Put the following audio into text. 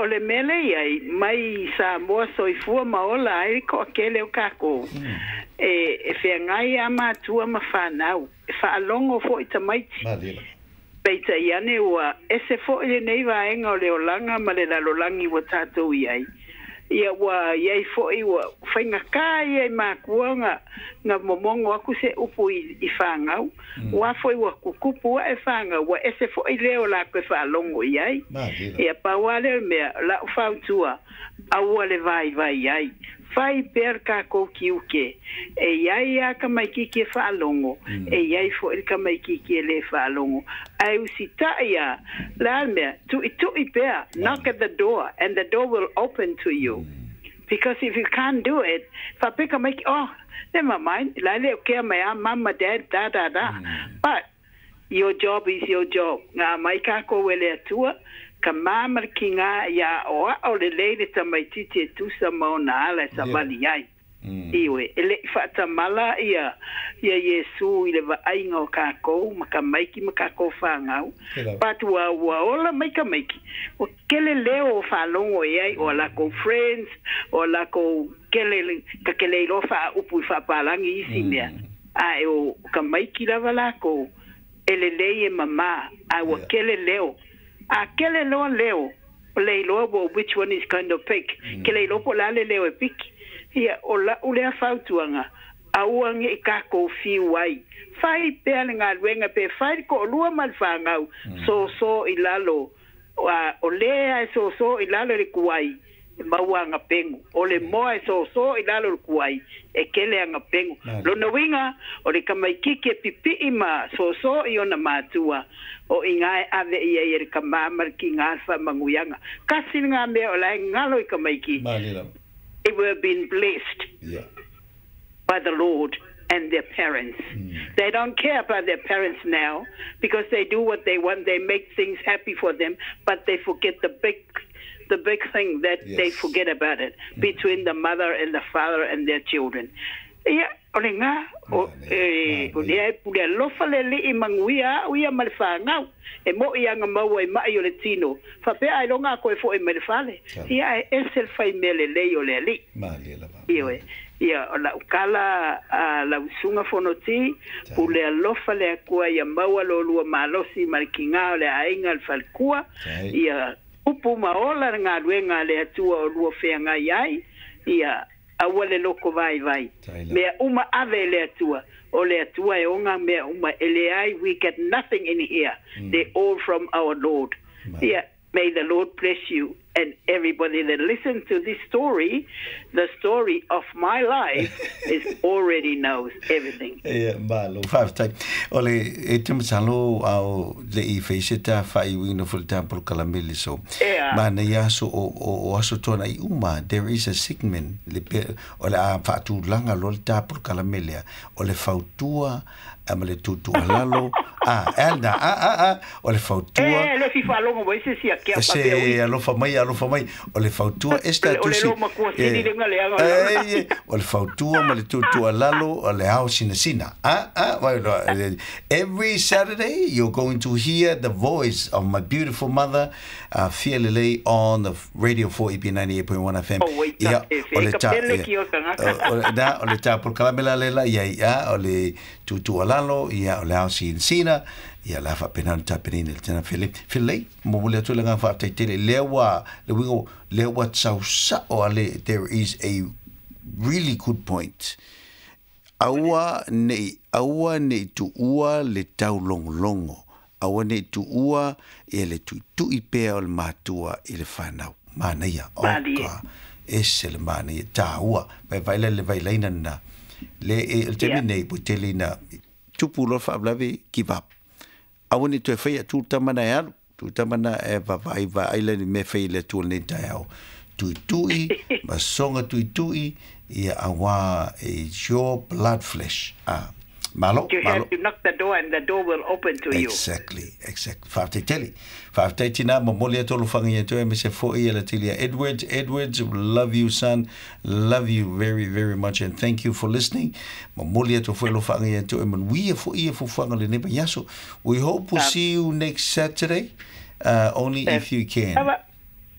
O le mea lea e i ai, mai Samoa soifua ma ola ai le toatele o tatou, e feagai lava matua ma fanau, e faalogo foi tamaiti. Peitai ane ua ese foi lenei vaega o le olaga ma le lalolagi ua tatou i ai. Ia ua i ai foi ua faigata ia i matua ona momono atu se upu i fanau, aua foi ua tutupu ae fanau, ua ese foi leo o latou e faalogo i ai. Ia pau lava lea o le mea, o lau fautua, aua le vaivai ai. Fai pea le tatou tiute, e i ai lava tamaitiiti e faalogo, e i ai foi le tamaitiiti e le faalogo. Ae usitai lava, o le a le mea, tuitui pea, knock at the door and the door will open to you. Because if you can't do it, faapea tamaiti, oh, never mind, la e le o kea mai lava mum ma dad, da da da. But your job is your job. Na aumai tatou e le Atua, ka ma ma le tiga ia aoao lelei le tamaitiiti e tusa ma ona ala e savali ai. Ioe, e le i faatamala ia Iesu i le vaaiga o tatou ma tamaiti ma tatou fanau, but ua ua ola mai tamaiti, ua kele leo o faalogo i ai, o a latou friends, o a latou kele, ta te le iloa faaupu i faapalagi isi mea, ae o tamaiti lava latou e lelei e mama, ae ua kele leo. A kele loa leo, o le iloa ua which one is kind of pick, ke le iloa po o le a le leo e piki. Ia, o la'u lea fautuaga, aua ne i tatou fiu ai. Fai pea le galuega pe fai le toalua ma le fanau, soso i lalo, a o le a e soso i lalo i le tuai, e maua ana pegu. O le moa e soso i lalo o le tuai, e kele ana pegu. Lona uiga, o le tamaitiiti e pipii ma soso i ona matua, o i ina e ave i ai e le tama ma le tiga le faamanuiaga. Tasi lena mea o la e galo i tamaiti. They were been blessed by the Lord and their parents. They don't care about their parents now because they do what they want, they make things happy for them, but they forget the big the big thing that they forget about it between the mother and the father and their children. Ia, o lena, o, e, o lea e pule alofa le Alii manuia au ia ma le fanau, e mo'i aga maua i ma'i o le tino, faapea ailoga a koe fo'i mai le fale, ia ae ese le fai mea lelei o le Alii. Ioe, ia, o la'u tala a lau Susuga Fonoti, pule alofa le Atua ia maua lo lua malosi ma le tiga o le aiga le faletua, ia upu ma ola le galuega a le Atua o lua feagai ai, ia aua le loko vaivai. Mea uma ave e le Atua, o le Atua e ona mea uma, e leai, we get nothing in here, they're all from our Lord. Ia, may the Lord bless you and everybody that listens to this story, the story of my life is already knows everything. Ia, malo, faafetai. O le, e te masalo a o le i fai se ta faaiuina foi le ta polokalame le so. Ea. Manaia aso o, o, o aso tuanai uma, there is a segment, le pe, o le a faatulaga loa le ta polokalame lea, o le fautua a ma le tuutuualalo, a, e a, a, a, a, o le fautua. E le fia faalogo mai se isi a kea Se faapea ui. alofa mai, alofa mai, o le fautua e O le statusi. loo matua sili lenga leaga o lau. E, o le fautua ma le tuutuualalo o le ao sinasina. A, a, vai loa, every Saturday you're going to hear the voice of my beautiful mother, Fia Lelei on the Radio 4 EP 98.1 FM. Oh, wait, Ia, e o le ka ta, pele ia, ki o tagata. o, na, o le ta polokalame la lela, ia, ia, o le tuutuualalo, ia, o le ao sinasina, ia, la faapena ona tapenaina i le tena fele. Felelei, momoli atu le agaga faafetai tele, lea ua, le uiga, lea ua tausa'o ale, there is a really good point. Aua ne i, aua ne i tuua le taulogologo, aua ne i tuua ia le tuitui pea o le matua i le fanau. Manaia, Malie. oka, ese le manaia, tāua, vai vai la le vailaina lena. Le, e, o le taimi nei, ua tele ina tupu loa le faalavelave, give up. Aua ne i toe faia, tuu le tama na e alu, tuu le tama na e vaavaai vaai la ni mea e fai i le Atua i lenei taeao. Tuitui, ma soga tuitui, ia auā it's your blood flesh. Ah, malo, You malo. have to knock the door and the door will open to you. Exactly, exactly. Faafetai tele. Faafetai tinā, momoli atu alofaga ia te oe, aemaise foi ia Latilia Edwards. Edwards, love you son, love you very, very much and thank you for listening. Momoli atu foi alofaga ia te oe, manuia foi ia fuafuaga o lenei vaiaso. We hope we'll see you next Saturday, only if you can. Lava.